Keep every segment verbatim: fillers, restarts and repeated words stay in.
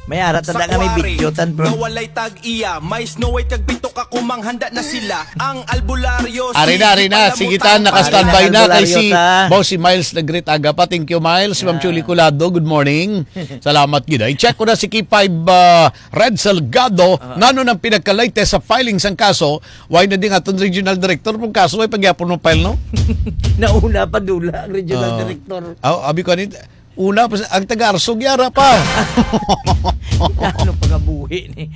May ara ta Sa nga may kuwari, video tan, bro. Nga walay tag-iya, may Snow White kag pito ka kumang handa na sila. Ang albularyo, Ari na, sige, ari na, palamutan. Sige, tan, naka-standby Ari na, na kay albularyo si ta. Boss, si Miles Nagrit Agapa. Thank you, Miles. Ma'am Ah. Julie Colado, good morning. Salamat gid. I-check ko na si K five, ah, Red Salgado. Ah. Nano nang pinagka-latest sa filing sang kaso? Why na di nga aton regional director? Kung kaso, ay pagyapon mo file, no? Nauna pa dula ang regional Ah. director. Ah, abi ko ni, una pa sa, ang taga-Arsog, yara pa. Ano pagabuhi ni?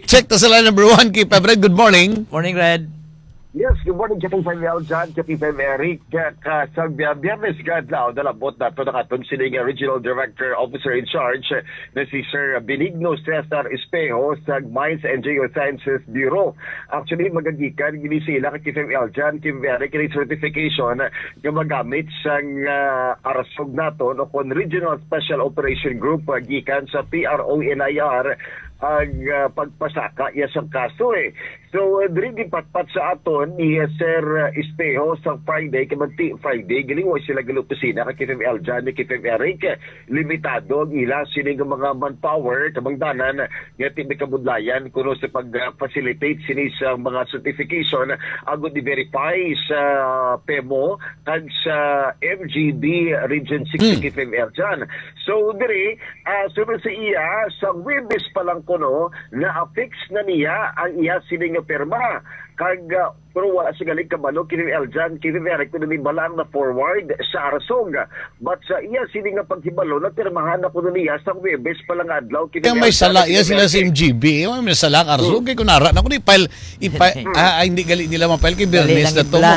Check ta sa line number one, K five Red. Good morning. Morning, Red. Yes, good morning, K five L John, K five Eric. Ka, ka, sa Bi-, Biyernes nga adlaw, nalabot nato ang aton sining Regional Director, Officer in Charge, na si Sir Benigno Cesar Espejo sa Mines and Geosciences Bureau. Actually, magagikan gini sila ka K five L John, K five Eric, kini certification nga magamit sang, ah, Arsog naton o kon Regional Special Operation Group, ah, gikan sa P R O N I R ang, ah, pagpasaka iya sang kaso, eh. So, uh, diri gipatpat sa aton ni, uh, Sir, uh, Espejo sa Friday, kay manti Friday, galing wa sila gali opisina kay K five L John, ni K five Eric. Limitado ang ila sini nga mga manpower, kabangdanan nga ti may kabudlayan kuno sa pag-facilitate sini sa mga certification agud i-verify sa pemo kag sa M G B Region six Hmm. K five L John. So, diri, Ah, sunod sa iya, sa Huwebes pa lang kuno, na-affix na niya ang iya sini nga pirma. Kag, ah, pero wala siya galing kabalo kini Eljan, kini Eric, kuno ni bala ang na-forward sa Arsog. But sa iya sini nga paghibalo, napirmahan na kuno niya sa Huwebes pa lang nga adlaw kini Kaya may Eljan, sala kini iya sila sa Eric. M G B. Eh, may sala ang Arsog. Hmm. Kaya kung nara na ko ni file, ipa-, Hmm. ah, ah, hindi gali nila ma-file kay Dali Bernes lang na to. Ibla.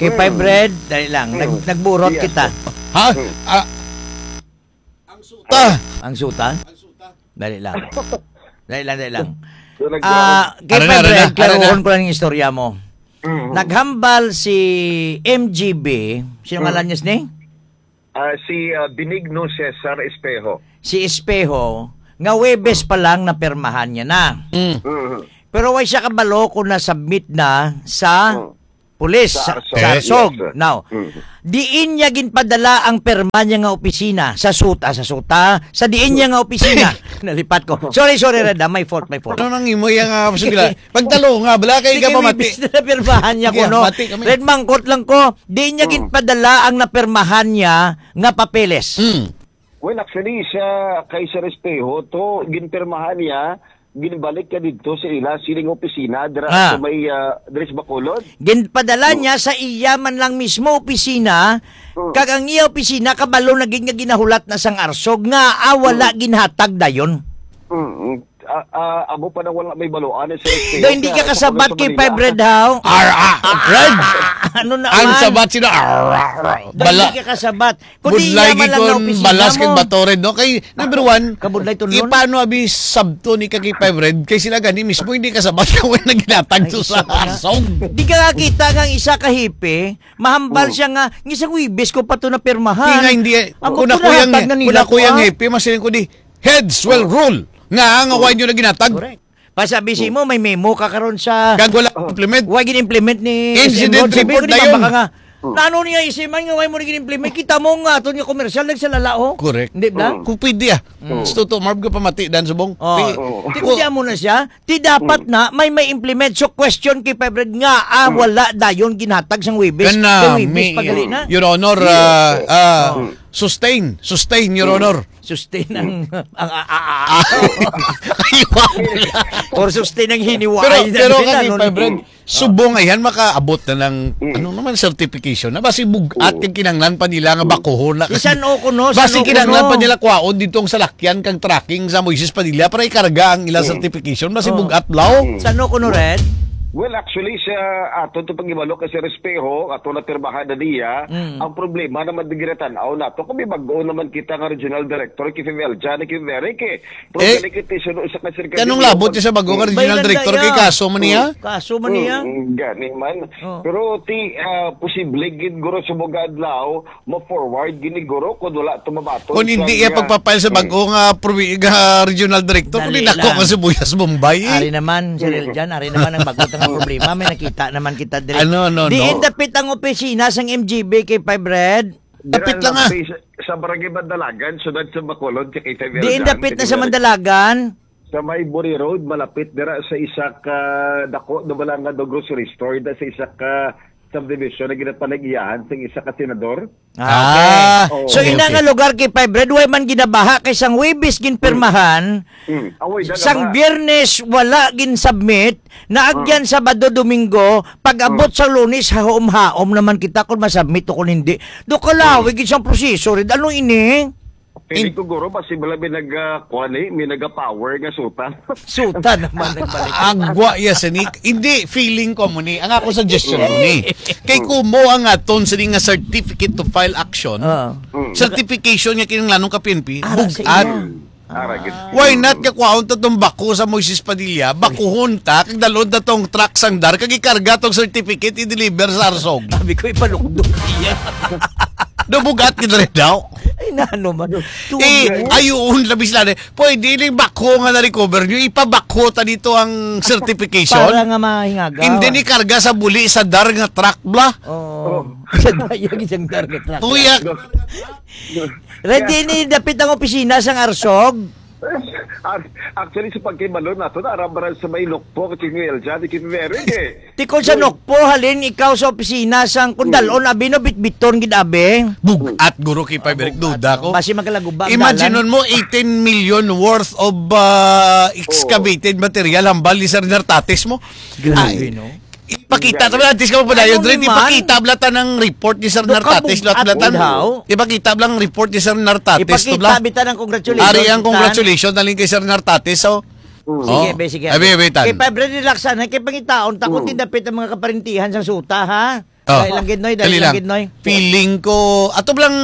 Kay Hmm. Five Red, dali lang. Nag-, Hmm. nagburot Yes. kita. Ha? Hmm. Ah, Ang suta. Ang suta? Ang suta. Dali lang. Dali lang, dali lang. So, nag- Ah, kay Ano na, ano Fred, na, ano na? Klaruhon ko lang yung istorya mo. Mm. Naghambal si M G B, sino Mm. ngalan niya, sini? Ah, si, ah, Benigno Cesar Espejo. Si Espejo, nga Webes pa lang napirmahan niya na. Mm. Mm. Pero way siya kabalo kung na-submit na sa Mm. Pulis sa, Sa Arsog. sa Arsog. Yes, sir. Now, Mm. diin niya ginpadala ang perma niya nga opisina sa suta, sa suta, sa diin niya nga opisina. Nalipat ko. Sorry, sorry, Red, ah. My fault, my fault. Ano nang imo yang, ah, sige lang. Pagtalo nga, bala kay Sige, ka pamati. Webes na napirmahan niya Sige, kuno. Mati kami. Red, mangkot lang ko. Diin niya Mm. ginpadala ang napirmahan niya nga papeles. Mm. Well, actually, sa kay Sir Espejo, to, ginpirmahan niya, ginbalik ka didto sa ila sining opisina dira Ah. sa may, ah, diri sa Bacolod. Ginpadala Mm. niya sa iya man lang mismo opisina, Mm. kag ang iya opisina kabalo na gid nga ginahulat na sang Arsog nga, ah, wala Mm. ginhatag dayon. Mm, mm. Ah, ah, amo pa nang wala may baluan, eh, Sir Espejo, Do, hindi kaya ka ako kasabat pa kay sa Manila. Five Red, how? Ar, ah, Red! Ano Ang naman? sabat sila, ar, ar, ar. Do, Bala. hindi ka kasabat. Kundi Budlay iya man lang gid na kun opisina balas mo. Kag bato red, no? Kay, number one, Kabudlay tunlon. Ipano abi sabto ni ka kay Five Red? Kay sila gani mismo hindi kasabat na wala ginatag Ay, to sa isa pa na. Arsog. Di ka nakita nga ang isa ka hipe, mahambal Oh. siya nga, "Ngisang Webes ko pa to napirmahan." Di nga hindi, Amo kuna ko ko yang, nahatag na nila kuna ko ko, yang ah. hipe, mas ko di, "Heads will Oh. rule." Nga, nga Oh. why nyo na ginatag? Correct. Pasabi si mo, may memo ka karon sa Kag wala Oh. implement. Why gin-implement ni Incident S M Ron? Sabi ko, report di na ba yun. baka nga, Hmm. "Nano niya isiman nga why mo na gin-implement? Kita mo nga aton nga komersyal nagsalala, oh." Correct. Di ba? Hmm. Kung pwede, ah. Hmm. Gusto to, Marv, ka pamati, Dan Subong. Oh. Pi-, Oh. Di ko Oh. diyan mo na siya. Di dapat Hmm. na may may implement. So, question kay Five Red nga, ah, Hmm. wala dayon ginhatag sang Webes. Kana, Kay Webes mi-, pagali na. Your Honor, Yes, ah, sir. ah, Hmm. sustain. Sustain, Your Hmm. Honor. Sustain ang, ang, a, a, a, a. Ah. Ay, wow. Or sustain ang hiniwalay Pero, na pero nila, kani, no? Five Red, subong ayan, makaabot na ng, Mm. ano naman, certification na basi bugat Oo. kag kinanglan pa nila nga Mm. bakuhon na. Isan o kuno, Basi san o kinanglan kuno. pa nila kwaon dito ang salakyan kang tracking sa Moises Padilla para ikarga ang ilang Mm. certification. Basi Oh. bugat, law. Mm. San o kuno, Red? Well, actually, sa aton to pag-ibalo kay Sir Espejo, ato na pirmahan na niya, Mm. ang problema naman di ginatanaw nato. Kami bag-o naman kita nga regional director, kay Fidel Jan, kay Eric, eh. Pero Eh, galing iti suno sa kasirkado kanong labot niya sa bago nga Mm. regional Bayan director kay daya. kaso man niya? Mm. Kaso man niya. Mm, gani man. Oh. Pero ti, ah, posible gid guro sa mga adlaw, ma-forward gini guro kung wala to mabaton Kung hindi sa iya nga pagpapile sa Mm. bago nga probi-, nga regional director, kung Dali dako lang. nga sibuyas Bombay, eh. Ari naman, Sir Mm. Eljan, ari naman ang bago nga problema, may nakita naman kita diri. Ano, no, Diin no? dapit ang opisina sang M G B kay Five Red? Dapit lang, ah. Sa, sa Barangay Mandalagan, sunod sa Bacolod, kay Kay Diin Verdan, dapit na sa Mandalagan? Sa may Buri Road, malapit dira sa isa ka dako na bala nga do grocery store, da sa isa ka subdivision na ginapanag-iyahan sa isa ka senador. Ah, okay. Ah, So, okay, ina okay. nga lugar kay Five Red, way man ginabaha kay sang Huwebes ginpirmahan, Mm. Awoy, da sang nga ba? Biyernes wala gin-submit, naagyan Mm. Sabado, Domingo, pag-abot Mm. sa Lunes, haom-haom naman kita kung masubmit o kung hindi. Do kalawi Mm. gid sang proseso, Red. Ano ini? Feeling In- ko, guro, basi bala may nag, ah, kuwan eh, may naga-power nga suta. Suta naman, nagbalik. Agwa ya, sinik. Hindi, feeling ko mo ni. Ang ako suggestion mo ni. Kay Mm. kumo ang aton sini nga certificate to file action. Oo. Mm. Certification nga kinahanglanon ka P N P, Ara sa bugat. Iya. Ara gid. Why not nga kwaon ta tong bako sa Moises Padilla, bakuhon ta, kag dalon ta tong truck sang DAR, kag ikarga tong certificate, i-deliver sa Arsog? Sabi ko, ipalukdo niya. Do bugat gid rin daw. Ay, na ano man. Eh, Tuyo. Ayun, labi sila na. Pwede ining bako nga na-recover nyo, ipabako ta dito ang certification. Para nga mahingagaw. And then ikarga sa buli sa DAR nga truck, bla. Oo. Oh. Sa dayag isang DAR nga truck. Tuyak. Ready ni dapit ang opisina sang Arsog? Ac-, actually, sa pagkibalo nato, naarambara sa may Nokpo, kay Miguel Jan, kay Mary, eh. Tikon sa Nokpo, halin ikaw sa opisina sang kundalon, Mm. abi, no, bitbiton gid, abi. Bugat, guro, kay Five Red, duda ko. Basi magkalaguba ang Imagine dalan. Mo, eighteen million worth of, ah, excavated Oh. material, hambal ni Sir Nartates mo. Grabe, Ay. No? Ipakita ta, antes ka magpadayon, Ano Dre, naman? Ipakita bala ta ng report ni Sir Nartates, Nakabug-at bala ta. Daw. Ipakita bala ang report ni Sir Nartates, to bala. Ipakita bala ta ng congratulations, Ari ang tan. Congratulations, naling kay Sir Nartates, so. Mm. Sige, Oh. be, sige. Abi, abi, tan. Kay Five Red, relax, ha. Kay pangitaon, takot Mm. din dapit ang mga kaparintihan sa suta, ha? Oh. Dali lang, gid, Noy, dali Dali lang, lang. Gid, Noy. Feeling ko, ato bala ang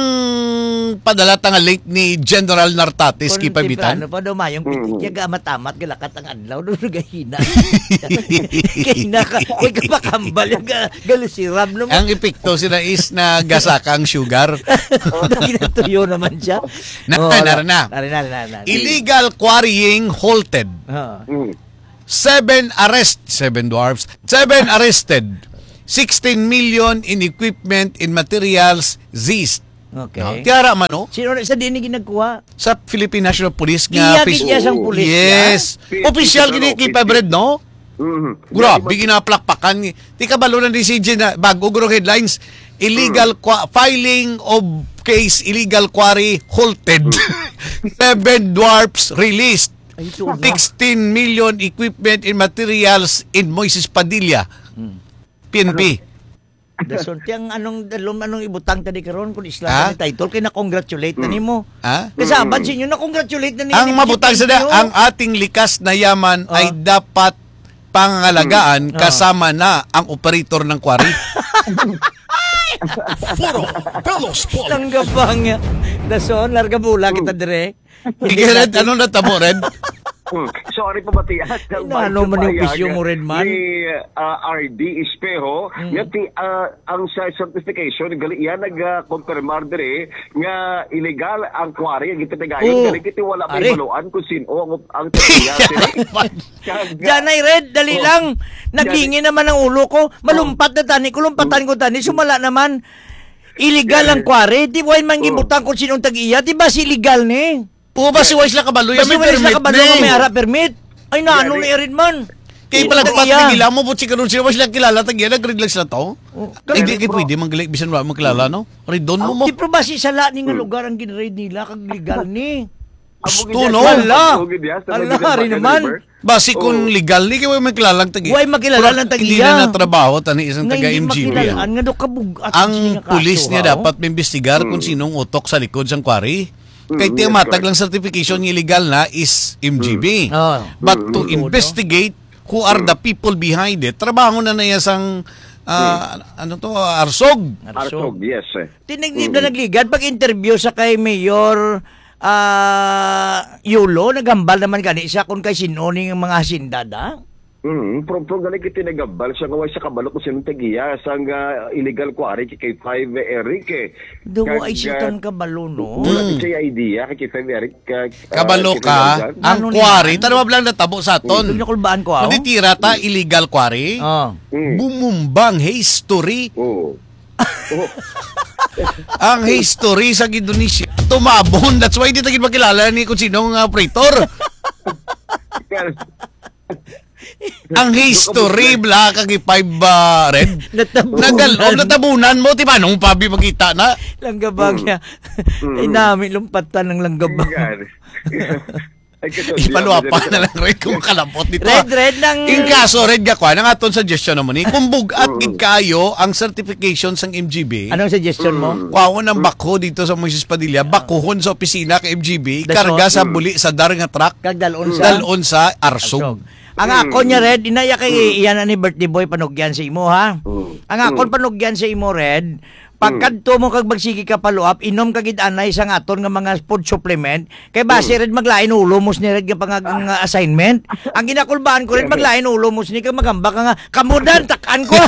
padala ta nga link ni General Nartates, Kung kay Pabitan. Temprano pa daw, mayong Mm. pitik, yaga amat-amat, galakat ang adlaw, no, gahina. Gahina ka. Uy, kapakambal, yung ga-, galusirab, no? Ang epekto sila is nagasaka ang sugar. Dahil natuyo naman siya. Na, Oh, na, wala. Na. Nari, nari, nari, nari. Illegal quarrying halted. Oo. Mm. Seven arrest, seven dwarfs, seven arrested. Sixteen million in equipment and materials seized. Okay. No? Tiara man, no? Sino na sa diin ni ginagkuha? Sa Philippine National Police nga Iya, office. Gid iya sang pulis, Yes. ya? Opisyal gini kay Five Red, no? Mhm. Grabe, Di ba? Ginaplakpakan ni. Di ka balo na ni C J na bago guro headlines. Illegal Mm. qua-, filing of case, illegal quarry halted. Mm. Seven dwarfs released. Ay, ito na. Sixteen million equipment and materials in Moises Padilla. Mm. P N P. Ano? Dason, ti ang anong, dalom, anong ibutang tadi karon kung isla Ha? Ni title kay na-congratulate na Hmm. nimo. Ha? Kasabad Mm. sa inyo, na-congratulate na nimo. Ang mabutang sa da, ang ating likas na yaman Oh. ay dapat pangalagaan Oh. kasama na ang operator ng quarry. Foro Bello Sport. Tanggap ba nga? Dason, larga bula kita Hmm. dire. Sige, Red, ano natabo, Red? Hmm. Sorry, pabatian. Ay, nano man yung payag opisyo mo, Red Man? Ni, ah, R D Espejo, Hmm. nga ti-, ah, ang sa certification, gali, yan nag-confirmar dire nga illegal ang quarry, ang gitagayon, Oh. Gali, kiti wala may Are. Baluan kung sino ang, ang tagiya, sila. Kag, Diyan ay, Red, dali Oh. lang. Nagingin naman ang ulo ko. Malumpat na tani, kulumpatan ko tani, sumala naman. Illegal ang quarry. Di wala man Oh. gibutang kung sinong tag-iya. Di ba si illegal ni? Oo, basi wala sila kabalo. Basi May wala sila permit kabalo ni. Nga may ara permit. Ay, na, ano Yari. Ni Erin man? Kay Hindi palagpat tag-iya. Ni nila mo, buti karon sila, wala sila kilala, tag-iya, nag-read lang sila to. Oh. Ay, di kay Bro. Pwede, manggali, bisan wala magkilala, no? Read doon mo, Ah, mo. Di, pero basi sala ni nga Hmm. lugar ang gin-raid nila, kag legal ni. Gusto, Amo gid no? yan. Hala. Amo gid yan. Sa Hala, mga hari ginagawa naman. River. Basi kung Oo. Legal ni, kay wala magkilala ang tag-iya. Wala magkilala Pero ang tag-iya. Hindi na natrabaho, tani, isang Nga taga hindi M G B, makilalaan, ah. Nga daw kabug-at Ang siya nga pulis kaso, niya ha, oh. Dapat maimbestigar kung Hmm. sinong utok sa likod sang quarry. Kay Mm, tiyamatag yes, lang certification nga illegal na is M G B. Mm. Ah. But to Mm. investigate who are Mm. the people behind it, trabaho na na iya sang, ah, Mm. ano to, Arsog. Arsog. Arsog, yes, eh. Tinag-, Mm. Nagligad pag-interview sa kay Mayor, ah, Yulo, naghambal naman gani siya kung kay sino ning mga hasyenda da? Mm, pero, pero gani kay tinagambal siya nga way siya kabalo kung sino tag-iya sang, ah, illegal quarry kay, kay Five Eric, eh. Daw Kag, ay siya ah, tan kabalo, no? Wala Mm. siya idea kay, kay Five Eric, ah, Kabalo ah, ka, kinahanglan. ang Ano quarry, ni man? Tanaw lang natabo sa aton. Ito yung nakulbaan ko, ah. Manitira ta, illegal quarry. Ah. Mm. Bumumbang history. Oo. Oo. Ang history sa Indonesia, tumabon. That's why di ta gid makilala ni kung sino nga operator. Ang history, bla, kag five, ah, red. Natabunan. Nagal-, oh, natabunan mo, di ba? Nung pabi makita na. Langgabag Mm. niya. Mm. Ay, nami, lumpatan ng langgabag. Yan. Ay, kaso, Ipaluapa di ako na lang, red, kung kalabot dito, Red, ah. red, nang Ing kaso, red, gakwa, nang aton suggestion naman, eh, kung bugat Mm. gid kayo ang certification sang M G B, Anong suggestion mo? Mm. Kuhaon ang Mm. bakho dito sa Moises Padilla, Ah. bakuhon sa opisina ka M G B, The karga sa short. buli sa dar nga truck, Kag dalon sa dalon sa Arsog. Arsog. Ang Mm. ako niya, Red, inaya kay Mm. iyan ani birthday boy panugyan sa imo, ha? Mm. Ang akon Mm. panugyan sa imo, Red, Mm. pagkadto mo kag magsige ka follow up, inom ka gid anay sa nga aton nga mga food supplement, kay base, Mm. Red, maglain ulo mo sini, Red, nga pangag-, nga assignment. Ang ginakulbaan ko, Red, maglain ulo mo sini kag magamba ka nga, "Kamudan, tak-an ko."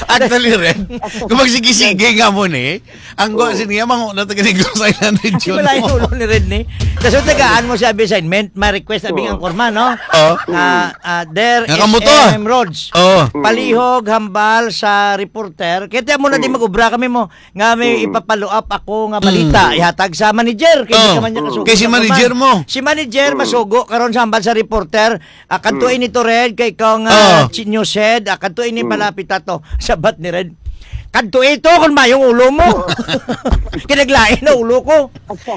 Actually, Red, kung magsige-sige nga mo ni, ang gwa Oh. sini, mango na taga Negros Island region Wala yung mo. ulo ni Red ni. Kaso tagaan mo siya assignment, may request abing Oh. ang korma, no? Oh. Ah, ah, Dear Nga kamo to, ah. S M Rhodes. Oh. Palihog, hambal sa reporter. Kaya tiyan mo na di Mm. mag-ubra kami mo. Nga may Mm. ipapalo up ako nga balita. Mm. Ihatag sa manager. Kaya hindi Oh. ka man niya kasugo Kay si sa manager kuman. mo. Si manager, Mm. masugo. Karon sa hambal sa reporter. Ah, kadto Mm. ini to, Red, kay ikaw nga Oh. chi-, news head. Ah, kadto ini Mm. malapit ato. Sabat ni Red. Kadto ito kung mayong ulo mo. Kinaglain na ulo ko.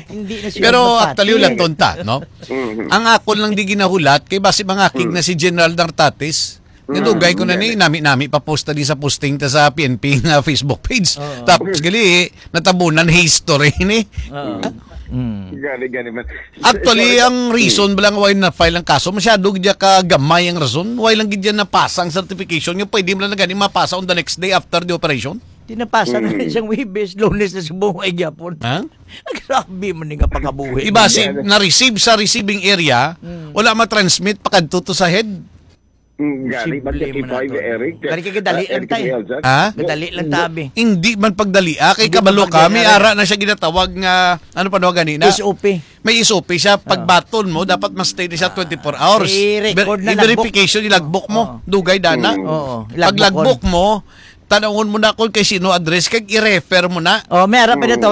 Hindi na siya Pero mapati. actually, wala tonta, no? Mhm. Ang akon lang di ginahulat, kay basi mangakig Mm. na si General Nartatis. Mm. Nadugay ko na ni, Gani. nami-nami pa post na di sa posting ta sa P N P nga Facebook page. Oo. Tapos gali, natabunan history ni. Oo. Mm. Gani, gani man. Actually, Sorry. ang reason Mm. ba lang why na-file ang kaso, masyado gid ka gamay ang rason. Why lang gid yan napasa ang certification nga pwede mo lang na gani mapasa on the next day after the operation? Di napasa na Mm. isang Webes, Lunes na sa buhay gyapon. Ha? Grabe man ni nga pagkabuhi. Iba si Gani. na-receive sa receiving area, Mm. wala ma-transmit pakadto to sa head. Mm, gani, Simple man man na five, to. Eric. Gani kay kadali Ah, lang Eric tayo. Elzar. Ha? Kadali lang tabi. Hindi man pagdali, ah, kay Hindi kabalo man pagdali, kami, Eric. ara na siya ginatawag nga, ano pa no, gani na? S O P. May S O P siya, pag Ah. baton mo, dapat ma-stay na siya Ah. twenty-four hours. I-record Ver-, na i-verification, logbook. ilagbook mo. Oo. Dugay, dana. Mm. Oo, Pag ilagbook logbook mo, tanawon mo na kung kay sino address, kag i-refer mo na. Oh, may ara pa Mm. natawag